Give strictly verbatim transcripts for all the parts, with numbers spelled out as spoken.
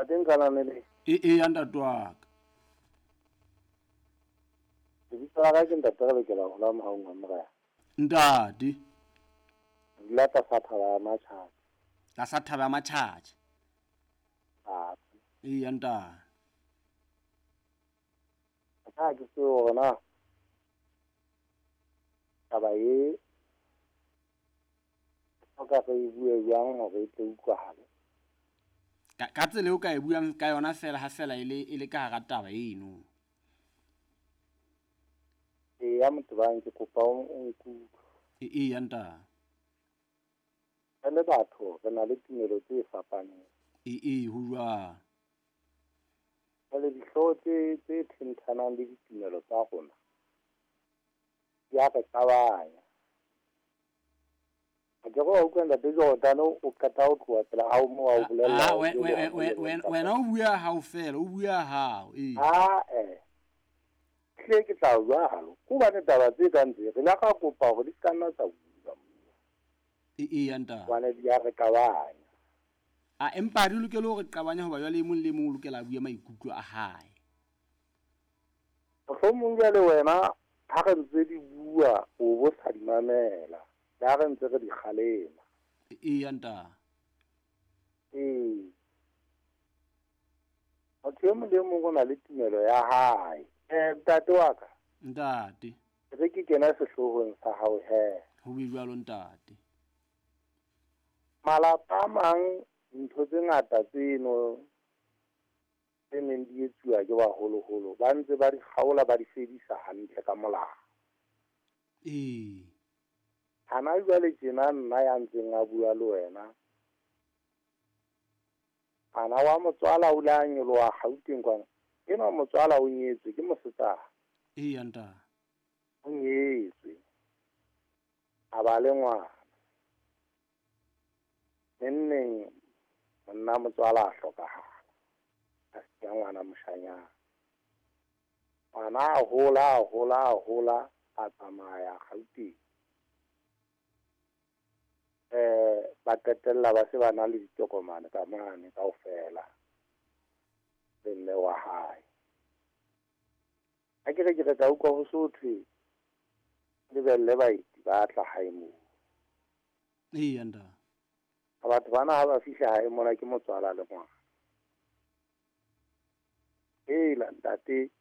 Ntate Nkananele. E e ya ntate wa ka. Lebitso la ka ke ntate re lokela ho la mohaung wa Morena. Ntate. Dula tlasa thaba ya Matjhatjha. Tlasa thaba ya Matjhatjha. Ah. E ya ntate. Ha ke tsebe hore na taba e hloka re e bue jwang hore e tle utlwahale. Ka ka tsela eo ka e buang ka yona fela ha fela e le e le ka hara taba eno. Eya motho bang ke kopa o nkutlwe. E e ya ntate. Re le batho re na le tumelo tse fapaneng. E e ho jwang. Jwale dihlooho tse tse thenthanang le ditumelo tsa rona di a re qabanya. Ha ke re wa utlwa ntate Jordan o qeta ho tloha pela hao moo a o bolella. Ah wena o bua hao fela, o bua hao. Ee. Ah eh. Hle ke tla jwalo. Hobane taba tse kang tse re la ka kopa hore di ska nna tsa bua. E e ya ntate. Hobane di a re qabanya. A empa di lokela hore qabanya hoba jwale e mong le mong o lokela a bue maikutlo a hae. Mohlomong jwale wena ha re ntse di bua o bo sa di mamela. Le ha re ntse re di kgalema. E ya ntate. Ee. Motho e mong le mong o na le tumelo ya hae. Eh ntate wa ka. Ntate. Re ke kena sehloohong sa hao he. Ho be jwalo ntate. Malapa a mang ntho tse ngata tseno tse neng di etsuwa ke baholoholo ba ntse ba di kgaola ba di fedisa hantle ka molao. Ee. Hana jwale tjena nna ya ntseng a bua le wena. Ana wa motswala o la nyoloha Gauteng kwana. Enwa motswala o nyetswe ke mosetsana. Ee ya ntate. O nyetswe. A ba le ngwana. Nenneng monna motswala a hlokahala. A siya ngwana moshanyana. Ngwana a hola a hola a hola a tsamaya Gauteng. Eh ba qetella ba se ba na le ditokomane ka mane kaofela. Le mme wa hae. Ha ke re ke re ka utlwa ho so thwe lebelle baeti ba tla hae moo. Ee ya ntate. Batho bana ha ba fihla hae mona ke motswala le ngwana. Hela ntate.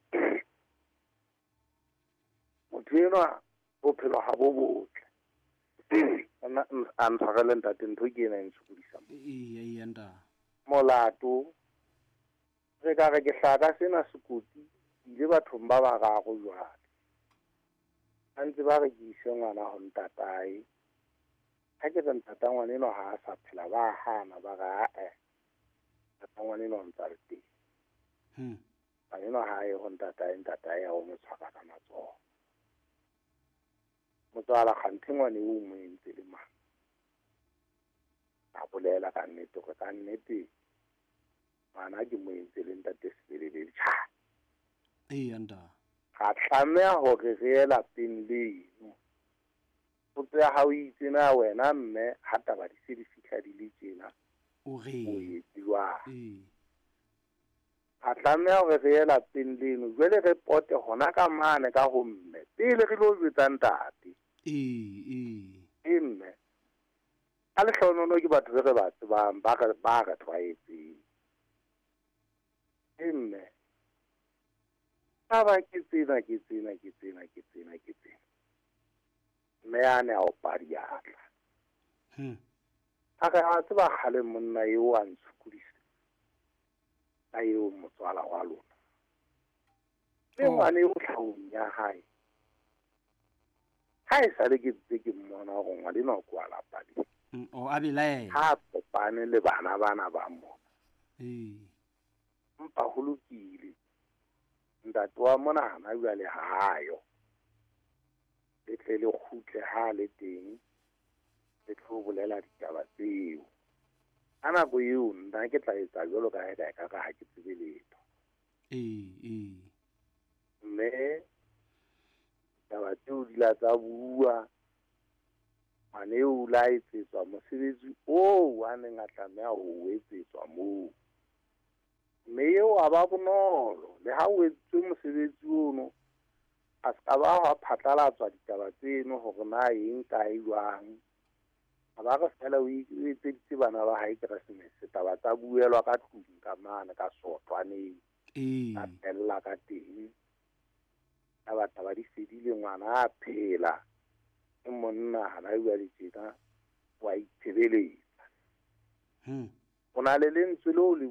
Motho enwa bophelo ha bo botle. A ntshwarele ntate ntho ke ena e ntshokodisang. Ee ee ntate. Molato re ka re ke hlaka sena sekoti ile bathong ba bararo jwale. Ba ntse ba re ke ise ngwana ho ntatae. Ha ke re ntata ngwana enwa ha a sa phela ba hana ba re ae. Ntata ngwana enwa o ntsa le teng. Hmm. Ngwana enwa ha ye ho ntatae, ntatae ya o mo tshwara ka matsoho. Motswala kganthe ngwana eo o mo entse le mang. A bolela ka nnete hore ka nnete ngwana ke mo entse le ntate Sebelebele. Tjha. Ee ntate. Ra tlameha hore re ye lapeng leno. Potso ya hao e itse na wena mme ha taba di se di fihla di le tjena. O reng? O etse jwang? Ee. Ra tlameha hore re ye lapeng leno. Jwale re pote hona ka mane ka ho mme. Pele re lo jwetsa ntate. Ee ee. Ee mme. Ka lehlohonolo ke batho be re ba tsebang ba re ba re tlwaetseng. Ee mme. Taba ke tsena ke tsena ke tsena ke tsena ke tsena. Mme a ne a opa diatla. Hmm. A re a tseba kgale monna eo a ntshokodisa. Ka eo motswala wa lona. Le ngwana eo tlhahong ya hae. Ha e sale ke ntse ke mmona hore ngwana enwa ke wa lapa le. O a belaela. Ha kopane le bana bana ba mona. Ee. Empa ho lokile. Ntate wa mona hana jwale ha ayo. Le tle le kgutle ha le teng. Le tlo bolela ditaba tseo. Ka nako eo nna ke tla etsa jwalo ka ha ka ka ha ke tsebe letho. Ee ee. Mme taba tseo di la tsa bua. Ngwana eo o la etsetswa mosebetsi oo a neng a tlameha ho etsetswa moo. Ha ba bonolo le ha o etswe mosebetsi ono, a se ka ba hwa phatlalatswa ditaba tseno hore na eng kae jwang. A ba re fela o etseditse bana ba hae Keresemese, taba tsa buelwa ka tlung ka mane ka sothwaneng. Ee. Ka fella ka teng. Taba taba di fedile, ngwana a phela. Ke monna hana jwale tjena wa itshebeletsa. Hmm. O na le lentswe leo le